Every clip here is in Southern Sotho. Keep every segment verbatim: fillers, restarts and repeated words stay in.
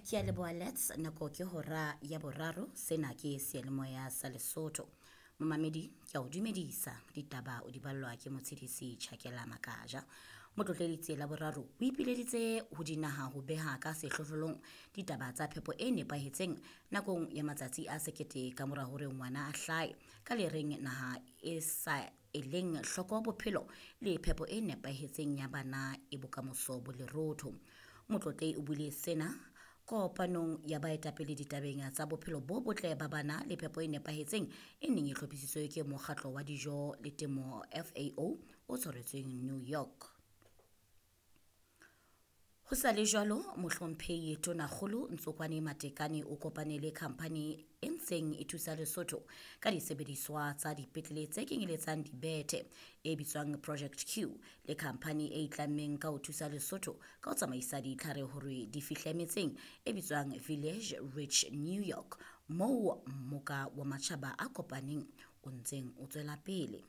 Ke a leboha Lets, nako ke hora ya boraro, sena ke seyalemoya sa Lesotho. Momamedi, ke a o dumedisa, ditaba o di ballwa ke motshedisi Tjhakela Makaja. Motlotleletsi la boraro o ipileditse ho dinaha ho beha ka sehlohlolong ditaba tsa phepo e nepahetseng nakong ya matsatsi a sekete ka mora hore ngwana a hlahe, ka le reng naha e sa eleng hloko bophelo le phepo e nepahetseng ya bana e bokamoso bo lerotho. Motlotlehi o buile sena kopanong ya baetapele ditabeng tsa bophelo bo botle ba bana le phepo e nepahetseng e neng e hlophisitswe ke mokgatlo wa dijo le temo F A O o tshwaretsweng New York. Ho sa le jwalo, mohlomphehi Tonakgolo Ntsokwane Matekane o kopane le khamphani e ntseng e thusa Lesotho ka disebediswa tsa dipetlele tse kenyeletsang dibethe e bitswang Project Q le khamphani e itlammeng ka ho thusa Lesotho ka ho tsamaisa ditlhare hore di fihle metseng e bitswang Village Reach New York moo mmoka wa matjhaba a kopaneng o ntseng o tswela pele.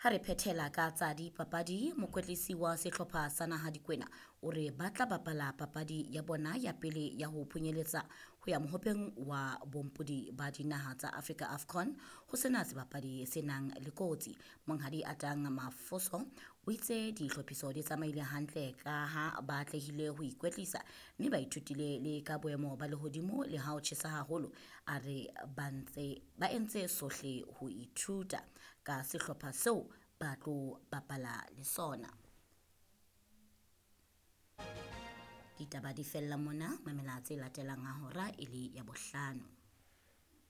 Ha re phethela ka tsa dipapadi, mokwetlisi wa sehlopha sa naha Dikwena o re ba tla bapala papadi ya bona ya pele ya ho phunyeletsa ho ya mohopeng wa bompodi ba dinaha tsa Afrika AFCON ho sena sebapadi se nang le kotsi. Monghadi Atang Mafoso o itse dihlophiso di tsamaile hantle ka ha ba atlehile ho ikwetlisa mme ba ithutile le ka boemo ba lehodimo le ha ho tjhesa haholo. A re ba ntse ba entse sohle ho ithuta ka sehlopha seo ba tlo bapala le sona. Ditaba di fella mona, mamela tse latelang ha hora e le ya bohlano.